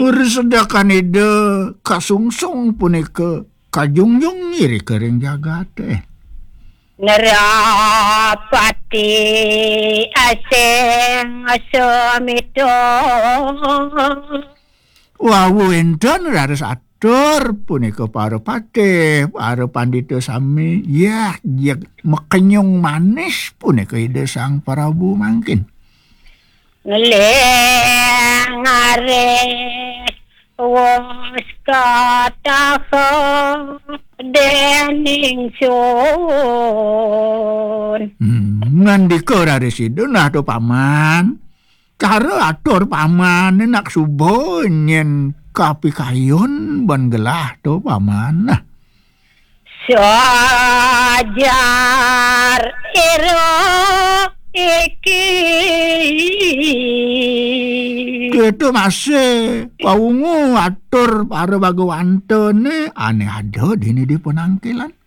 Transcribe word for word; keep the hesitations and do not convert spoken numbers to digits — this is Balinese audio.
Ur sedekan Ida kasungsung punika kajungjung irika ring jagaté. Nerapati asing semita. Wau wénten raris atur punika para patih, para pandita sami, yah, jeg mekenyung manis punika Ida Sang Prabu mangkin. Ngeling aris wus kataha dening sun. Hmm, ngandika raris Ida, nah to paman. Cara atur pamané nak suba nyén kapikayun ban gelah to paman. Nah. Sajar ira iki. Kéto masih pawungu atur para bagawantané ané ada dini di panangkilan.